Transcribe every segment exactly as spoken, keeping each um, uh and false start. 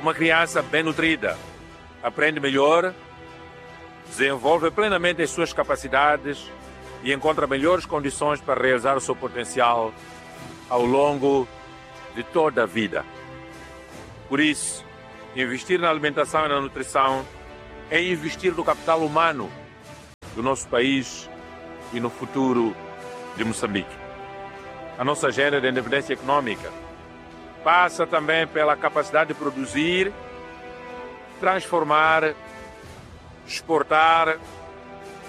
Uma criança bem nutrida aprende melhor, desenvolve plenamente as suas capacidades e encontra melhores condições para realizar o seu potencial ao longo de toda a vida. Por isso, investir na alimentação e na nutrição é investir no capital humano do nosso país e no futuro de Moçambique. A nossa agenda de independência econômica passa também pela capacidade de produzir, transformar, exportar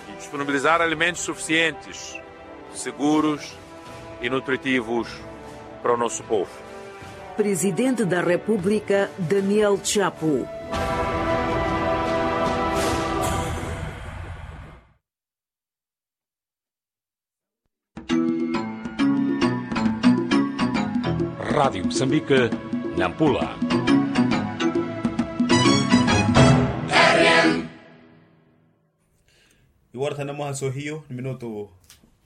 e disponibilizar alimentos suficientes, seguros e nutritivos para o nosso povo. Presidente da República, Daniel Chapo. Rádio Moçambique, Nampula. Iwara thanu na mwaha sohiyo ni minutu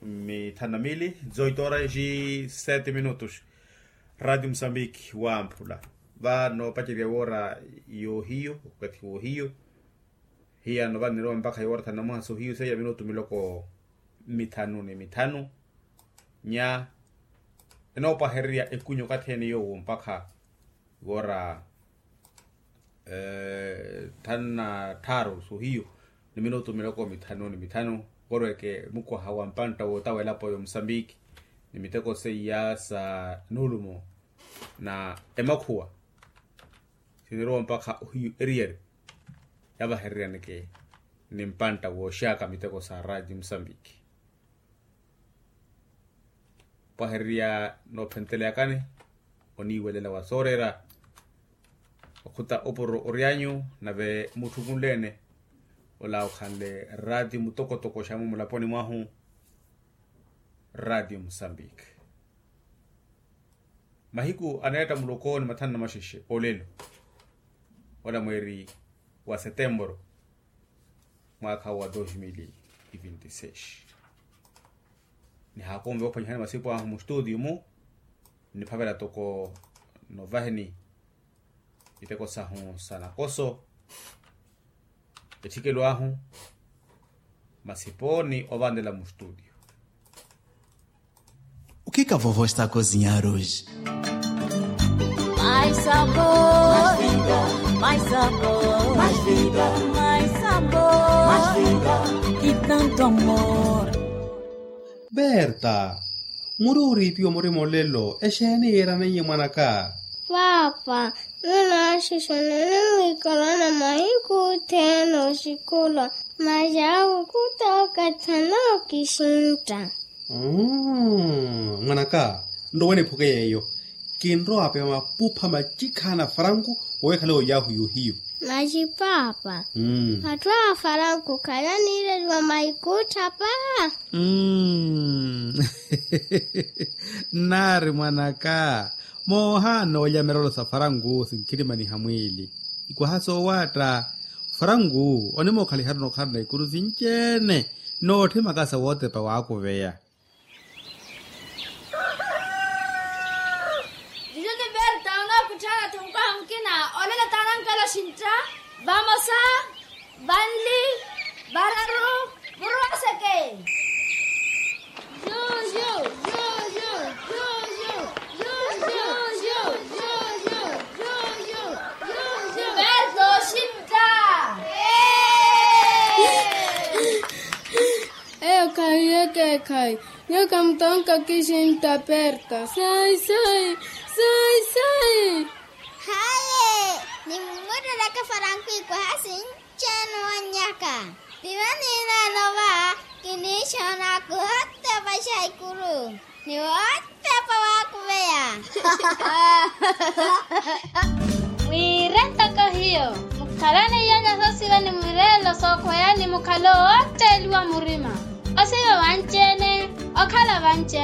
mithanu na mili, dezoito horas e sete minutos. Rádio Moçambique, wamphula. Vano pacerya wara yohiyo, wakathi wohiyo. Hiyano vano nirowa mpakha iwara thanu na mwaha sohiyo seiya minutu miloko mithanu ni mithanu. Nya enoopahererya ekunyu okathi ene yowo mpakha iwara thanu na tharu sohiyo ni minutu miloko mithanu ni mithanu. Korweke mukwaha wa mpantta wootawa elapo ya omusambiki ni miteko seiya sa nuulumo na emakhuwa sinirowa mpakha ohiyu eriyari yavahereryaneke ni mpantta wooxaka miteko sa raati musambiki. Opahererya noophenteleyakani oniiwelela wa sooreera okhuta opuro oryanyu nave mutthukunleene ola okhanle raati mutokotoko xamu mulaponi mwahu. Raati musambiki. Mahiku aneetta muloko ni mathanu na maxexe olelo ola mweeri wa setemporo mwaakha wa dos mil e vinte e seis. Nihaakonve ophwanyihani masipu ahu mustutio mu niphavela toko novaheni iteko sahu sa nakoso etthikelo ahu masi pooni ovanlela mustutio. Ukika vovo estako zinyaruji. Mais sabor, mais vida, mais sabor, mais vida, mais sabor, mais vida, e tanto amor. Berta, muri oriipiwa murima olelo exeeni yiiraneiye mwanaka? Paapa, ninaxixanani mwiikalana mahiku othene oxikula. Masi awo khuta okathi anookisintta. Mwanaka, nrowe niphuke yeeyo. Kinrowa apeya mapupha macikhaana a faranku wowekhale oyaahu yohiyu. Masi paapa, atthu a faranku khalaniireliwa maikutthapa. Nnaari mwanaka, moohaana olya mirolo sa faranku sinkhirimaniha mwiili. Ikwaha soowaatta faranku onimookhalihari onokhalana ikuru sinci-ene nootthimaka sa wootepa waakuveya. Juju ni berta onookutthaana-tho mukwaha mukina. Olelo taana nkelo xintta. Vamosa, vanli, vararu, murwaseke. Juju. Berta oxintta. Eyo khahi ekeekhayi. Nyuwo khamutonka kisintta perta. Sai sai. Sai sai. Haye. Nimmutteleke faranku ikwaha sinci-ene owannyaka. Piva niinaano va kiniixoona khuhotta opaxa ikuru. Ni wootepa waakuveya. Mwiire ntoko hiyo. Mukhalane iyanya soosiva ni mwiireelo sookhweya ni mukhale owootteeliwa murima. Osiva vanci-ene. Okhala vanci-ene.